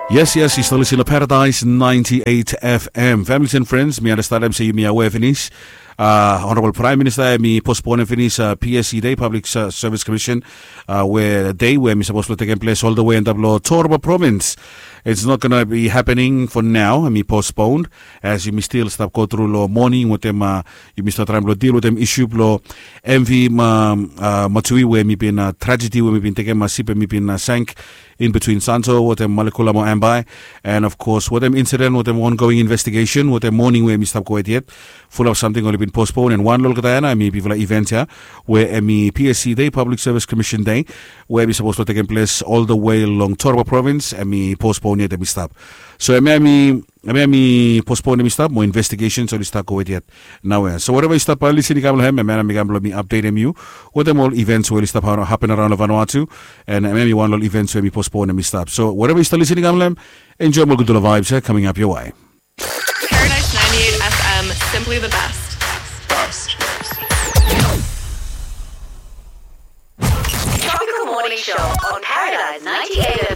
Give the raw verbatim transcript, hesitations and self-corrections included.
Yes, yes, yu stap lisin long Paradise ninety-eight F M. Families and friends, mi anastanem se yumi aware finis. Uh, Honorable Prime Minister, mi postpone finis uh, P S C Day, Public Service Commission, uh, where day where mi supposed to take place all the way in Tablo Torba province. It's not gonna be happening for now. Mi postponed as yumi still stop go through lo morning with them. Uh, yumi start trying to deal with them issue lo M V ma, uh, Matui where mi been uh, tragedy where mi been taking my sip and mi been uh, sank in between Santo wetem Malekula mo Ambae. And of course, wetem incident, wetem ongoing investigation, wetem morning we mi stap go yet. Full of something oli bin postpone and wan lo olgeta ya na mi bifala event ya we emi P S C Day, Public Service Commission Day, we mi supposed to take place all the way long Torba province, emi postpone yet, emi stap. So emi emi emi emi postpone emi stap mo investigations oli stap go yet. Naoia. So whatever yu stap uh, listening kam lo hem, and man, mi kam lo mi update yu with them all events where yu stap happen around lo Vanuatu, and maybe one lo events where mi postpone mi stap. So whatever yu stap listening kam lo hem, enjoy more good vibes eh, coming up your way. Paradise ninety-eight F M, simply the best. Tropical Morning Show on Paradise ninety-eight F M.